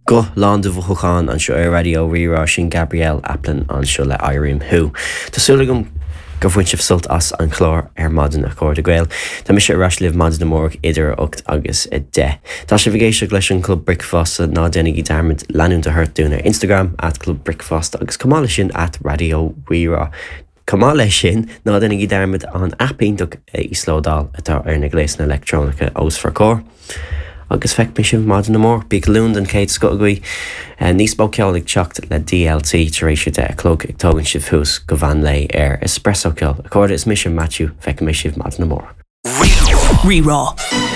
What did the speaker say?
Guth lán de mhothúcháin anseo ar Raidió Rí-Rá, sin Gabrielle Aplin anseo le Airím Thú. Tá súil agam gur bhain sibh sult as an chlár ar maidin a chairde Gael. Tá mise ar ais libh maidin amárach idir 8 agus 10. Tá sibh ag éisteacht leis an Club Bricfeasta, ná déanaigí dearmad leanúint a thabhairt dúinn ar Instagram, at Club Bricfeasta agus chomh maith leis sin at Raidió Rí-Rá. Chomh maith leis sin, ná déanaigí dearmad an aip iontach a íoslódáil atá ar na gléasanna leictreonacha os bhur gcomhair. Agus feicfidh mé sibh maidin amárach. Bíodh Luan den chéad scoth agaibh. Níos mó ceoil ag teacht le DLT tar éis 10 a chlog ag tógaint sibh thuas go mheán lae ar Espresso Ceol. A chairde, is mise Maitiú, feicfidh mé sibh maidin amárach. Rí-Rá.